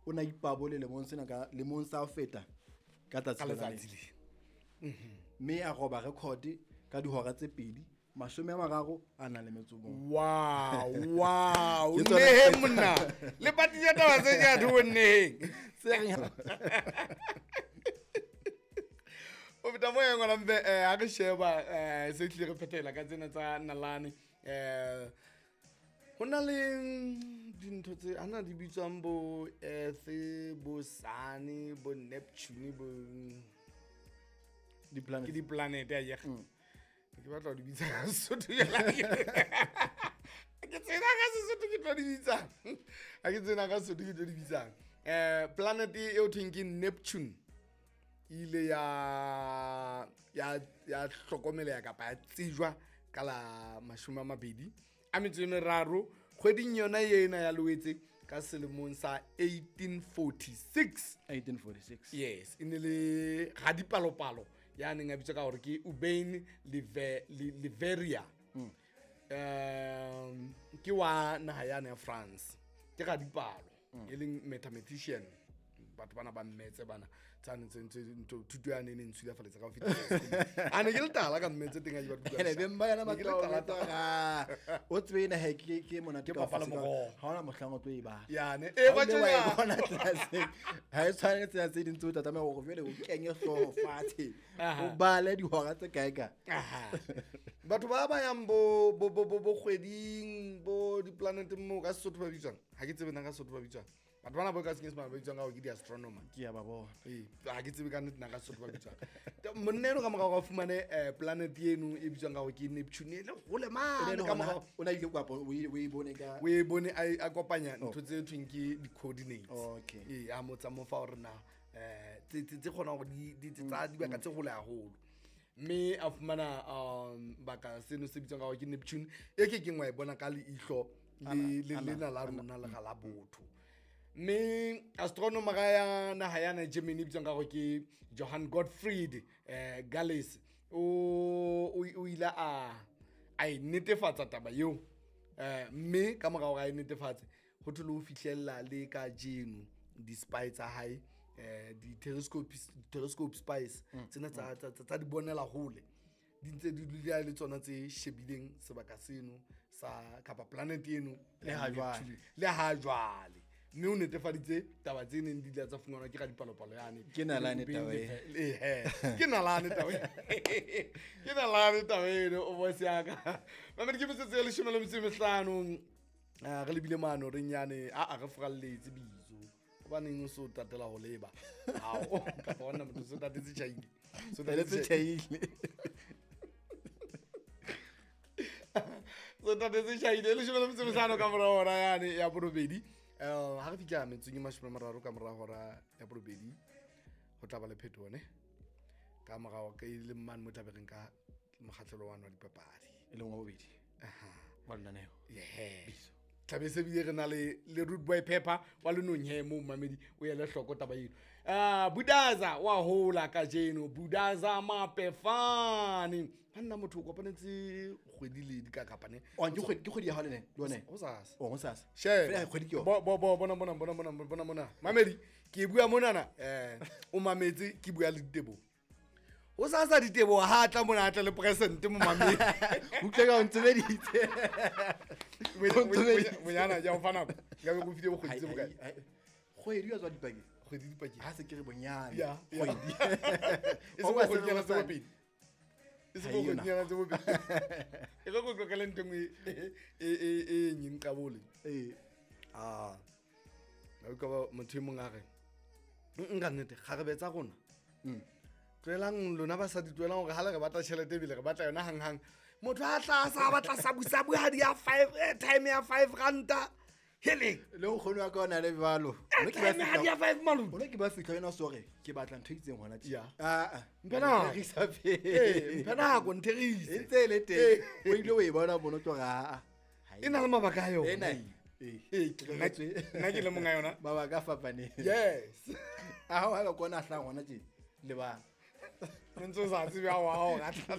O na ipabole lemong sena ka lemong sa ho feta ka tsatsi Ka lona letsatsi lena. le. Mme a roba record ka dihora tse 2 31 a nang le metso o mong. Wow. Ke tsona Nneheng monna. Le patile taba tse ke a thobo nneheng. Se reng- O feta mo yang ngwana mpe ha re sheba se tlile re phethela ka tsena tsa nalane ho na le dintho tse ana di bitswang bo Earth, bo Sun, bo Neptune, bo Di-planet. ke di-planet a yega. Ke batla ho di bitsa ka Sesotho jwale. Ke tsena ka Sesotho ke tlo di bitsang. Ha ke tsena ka Sesotho ke tlo di bitsang. Planet e ho thweng ke Neptune e ile ya hlokomeleha kapa ya tsejwa ka la 23 kgweding yona ena ya Loetse ka selemong sa 1846. 1846. Yes, e ne le radipalopalo ya neng a bitswa ka hore ke Urbain Leverrier. Ke wa naha yane ya France. Ke radipalo, e leng mathematician. Batho bana ba mmetse bana tsane tse ntse ntho thuto ya ne ne ntshulafaletse ka ho fetisa. A ne ke le tala ka mmetse teng a ke batho. Ene beng ba yona Ne ke le batho ba tala tala. O tsebe ena he ke monate Ke ka ho papa le fetisa. moroho. Ha hona mohlang o tlo e bala. Yane. Ha Ba o ile wa e tjena. bona classeng. Ha e tshwane le tsena tse ding tseo o tla tlameha hore jwale o kenye hlooho fatshe. Aha. O bale dihora tse kae kae. Aha. Batho ba ba yang bo kgweding bo di-planeteng moo ka Sesotho ba bitswang. Ha ke tsebe nna ka Sesotho ba bitswang. Batho bana bo ka Senyesemane ba bitswang ka hore ke di-astronomer. Ke a ba bona. Ee, ha ke tsebe ka nnete nna ka Sesotho ba bitswang. Monna eno ka morao a fumane planet eno e bitswang ka hore ke Neptune e le hole mane Ene ka hona morao. o na ile kwa o e bone ka O e bone a kopanya ntho tse thweng ke di-coordinates. Okay. Ee, a mo tsa mo fa hore na tse kgonang hore di tsa dibaka tse hole haholo. Mme a fumana baka seno se bitswang ka hore ke Neptune e ke keng wa e bona ka leihlo le lena la rona le ga la botho. Mme astronomer ya naha yana Germany e bitswang ka hore ke Johann Gottfried Gales o ile a e netefatsa taba eo. Mme ka morao a e netefatse ho thwe le ho fihlella le kajeno di-spy tsa hae di-telescope spies tsena tsa di bonela hole di ntse di dula le tsona tse shebileng sebaka seno sa kapa planet eno Le ha jwale. Neptune. Le ha jwale. Mme o netefaditse taba tse neng di ile tsa fumanwa ke radipalopalo yane. Ke nalane taba e. Ehe. Ke nalane taba e. Ke nalane taba eno, o boss ya ka. Mamedi ke metsotso e 15. Re lebile mano reng yane, a re furalletse bitso. Hobaneng o so tatela ho leba? Hao, kapa hona motho so tatetse tjhaile. So Tatetse tjhaile. So tatetse tjhaile. 15 ka mora hora yane ya borobedi. Ha re fihla metsotsong e 30 ka mora hora ya borobedi, ho tla ba le phetoho ne? Ka morao ke le mane mo tlabe re nka mokgahlelo wa dipapadi. E leng wa bobedi. Wa lenaneo. Yes. Tlabe se bile re na le Rude Boy Pepper wa lenong he moo mamedi o ele hloko taba eno. Budaza wa hola kajeno, Budaza Mapefane. Banna motho o kopanetse kgwedi le di ka kapa ne? Oh, ke kgwedi ya hao le ne? Le yone? Hosasa. Oh, hosasa. Sheba. Fela kgwedi ke yona. Bo, bona, bona, bona, bona, bona, bona. Mamedi, ke bua monana, o mametse, ke bua le Diteboho. Hosasa Diteboho ha tla mona, a tla le present mo mamedi. Utlwe ka o ntsebeditse. Bonyana, ke a o fa nako. Nka be ke o file bokgwedi tse bokae? Hai, hai, hai. Kgwedi ya tswa dipakeng. Kgwedi dipakeng. Ha se ke re bonyane. Ya, ya. Kgwedi. E se Ho ba bokgwedinyana tse se bobedi. E se Ha eyo bokgwedinyana tse bobedi. E re ko qoqele ntho e nngwe e nyeng qabole. Ee. Ah. Ka utlwa motho e mong a re, nka nnete, kgarebe tsa rona. Tlohelang lona basadi, tlohelang hore ha le re batla tjhelete ebile re batla yona hanghang. Motho a tla sa batla sabusabu ha di ya 5, time ya 5 ranta. Hele. Le nkgono wa ka o na le jwalo. Mme ke ba Time ha di ya fihla- 5 malome. Hona ke ba fihla yena sore, ke batla ntho e itseng hona tje. Ya. Ah, ah. Mphe nako. Ntherise pele. Ee, mphe nako, ntherise. E ntse e le teng. Ee. O ile o e bona mono tlo re, ah, ah. Ha E na le mabaka a yona. Ena. Ee. Ee, nna ke le monga yona. Mabaka a fapaneng. Yes. A hao ha ba kona hlang hona tje. Lebala. Ntse o sa tsebe ha o a o ratla.